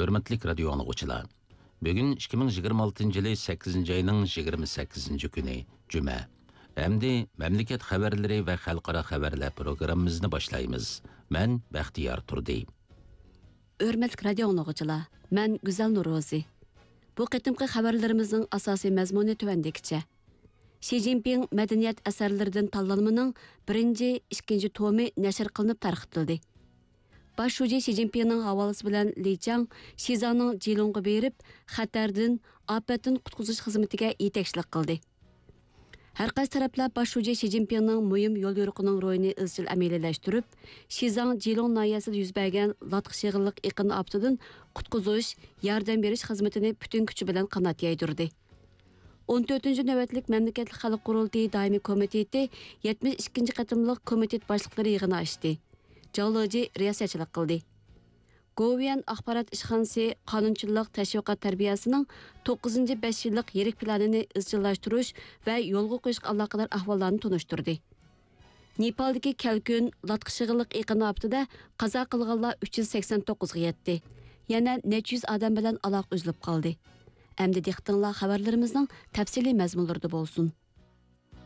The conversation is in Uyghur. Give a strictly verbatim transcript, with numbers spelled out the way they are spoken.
ھۆرمەتلىك رادىيو ئاڭلىغۇچىلار، بۈگۈن ئىككى مىڭ يىگىرمە ئالتىنچى يىلى سەككىزىنچى ئاينىڭ يىگىرمە سەككىزىنچى كۈنى، جۈمە. ئەمدى مەملىكەت خەۋەرلىرى ۋە خەلقئارا خەۋەرلەر پروگراممىمىزنى باشلايمىز. مەن بەختىيار تۇردى. ھۆرمەتلىك رادىيو ئاڭلىغۇچىلار، مەن گۈزەل نورۇزى. بۇ قېتىمقى خەۋەرلىرىمىزنىڭ ئاساسىي مەزمۇنى تۆۋەندىكىچە. شى جىنپىڭ مەدەنىيەت ئەسەرلىرىدىن تاللانمىنىڭ بىرىنچى، ئىككىنچى تومى نەشر قىلىنىپ تارقىتىلدى. باش شۇجى شى جىنپىڭنىڭ ھاۋالىسى بىلەن لى چياڭ شىزاڭنىڭ جىلۇڭغا بېرىپ، خەتەردىن، ئاپەتتىن قۇتقۇزۇش خىزمىتىگە يېتەكچىلىك قىلدى. ھەر قايسى تەرەپلەر باش شۇجى شى جىنپىڭنىڭ مۇھىم يوليورۇقىنىڭ روھىنى ئىزچىل ئەمەلىيلەشتۈرۈپ، شىزاڭ جىلۇڭ ناھىيەسىدە يۈز بەرگەن لاتقا شېغىللىق ئېقىن ئاپىتىدىن قۇتقۇزۇش، ياردەم بېرىش خىزمىتىنى پۈتۈن كۈچى بىلەن قانات يايدۇردى. ئون تۆتىنچى نۆۋەتلىك مەملىكەتلىك خەلق قۇرۇلتىيى دائىمىي كومىتېتى يەتمىش ئىككىنچى قېتىملىق كومىتېت باشلىقلىرى يىغىنى ئاچتى. جاۋ لېجى رىياسەتچىلىك قىلدى. گوۋۇيۈەن ئاخبارات ئىشخانىسى قانۇنچىلىق تەشۋىقات تەربىيەسىنىڭ توققۇزىنچى بەش يىللىق يىرىك پىلانىنى ئىزچىللاشتۇرۇش ۋە يولغا قويۇشقا ئالاقىدار ئەھۋاللارنى تونۇشتۇردى. نېپالدىكى كەلكۈن، لاتقا شېغىللىق ئېقىن ئاپىتىدە قازا قىلغانلار ئۈچ يۈز سەكسەن توققۇزغا يەتتى. يەنە نەچچە يۈز ئادەم بىلەن ئالاقە ئۈزۈلۈپ قالدى. ئەمدى دىققىتىڭلار خەۋەرلىرىمىزنىڭ تەپسىلىي مەزمۇنلىرىدا بولسۇن.